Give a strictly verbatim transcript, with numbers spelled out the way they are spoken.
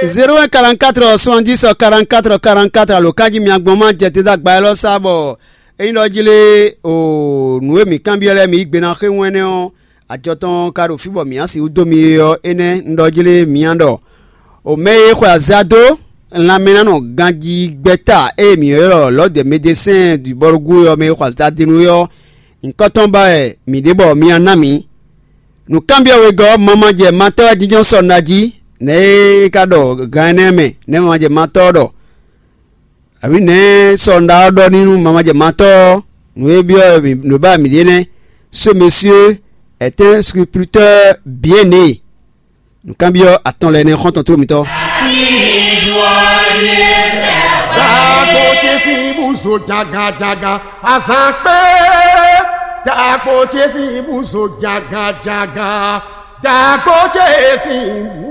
Zéro un quarante-quatre soixante-dix quarante-quatre quarante-quatre alo kanjí mi agbɔn ma jɛ te dó agba élɔ́ sá bɔ é nyí ɖɔ jí lé o nǔ e mǐ kanbyɔ́ lɛ́ɛ mi yí gbe ná xé wɛn nɛ́ ɔ́, ajɔ tɔn ka ɖo fí bɔ mǐ á sixú dó mi é ɔ́, énɛ́ un ɖɔ jí lé mǐ á ɖɔ. O mɛ e xwe azɛ dó lanmɛ ná nɔ ganjí gbɛ́ta e mǐ ylɔ́ l'ordre des médecins du Borgo ɔ́, mɛ e xwe azɛ dó é ɔ́, nyǐkɔ tɔn ba wɛ mǐ ɖe bɔ mi ná ná mǐ. Nǔkanbyɔ́ wegɔ́ ɔ́, mamajɛ matɔ́ wɛ jínjɔ́n sɔ nɔ jí, nɛ̌ é ka ɖɔ gan énɛ́ mɛ, nɛ̌ mamajɛ matɔ́ ɔ́ ɖɔ? Abǐ nɛ̌ sɔ nɔ ɔ́ ɖɔ n'i nú mamajɛ matɔ́ ɔ́? Nǔ e byɔ́ wɛ mǐ nǔ e ba mǐ ɖe nɛ́. Ce monsieur est un scripteur bien né. Nǔkanbyɔ́ atɔn lɛ́ɛ nɛ́ xɔ́ntɔn tló mitɔ́. Dagbo ce sín búzo jagajaga, azǎn kpé. Dagbo ce sín búzo jagajaga, dagbo ce sín bú.